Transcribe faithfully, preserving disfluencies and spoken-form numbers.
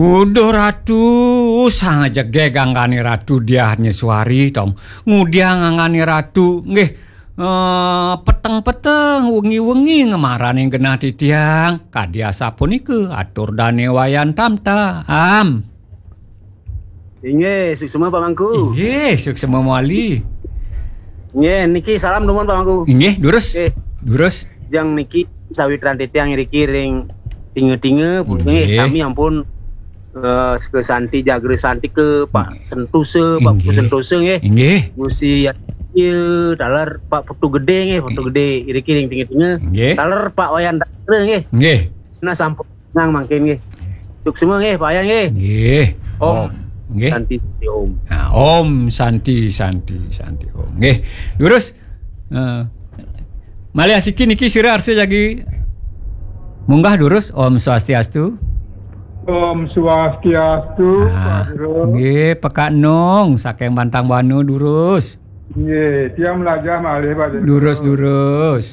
Uduh Ratu, sang jegég anggane Ratu Diah Nyeswari, tong. Ngudiang anggane Ratu, nggih. Eh, peteng-peteng, wengi-wengi ngemaraning genah titiang. Kadi asapunika atur dane Wayan Tamtam. Inggih, suksma Pak Mangku. Inggih, suksma mawali. Inggih, niki salam dumun Pak Mangku. Inggih, durus. Nggih. Durus. Jang niki sawitran titiang iriki ring tinga-tinga, nggih, sami ampun, eh, Seka Santi, Jagra Santi ke Pak Sentosa, Pak Putu Sentosa nggih. Inggih. Gusi ya, taler Pak Putu Gede nggih, Putu Gede iriki ring tinga-tinga. Nggih. Taler Pak Wayan Datra nggih. Nggih. Nah, sampun nang mangkin nggih. Suksma nggih, Pak Wayan nggih. Nggih. Om. Om. Nggih. Santi Santi Om. Nah, Om Santi Santi Santi Om. Nggih. Durus. Eh, malih asiki niki sira arsa jagi munggah durus. Om Swastiastu. Om Swastiastu, nah, Pak Guru. Nggih, Pekak Nung saking Bantang Banu durus. Nggih, tiang melajah malih, Pak Guru. Durus, durus.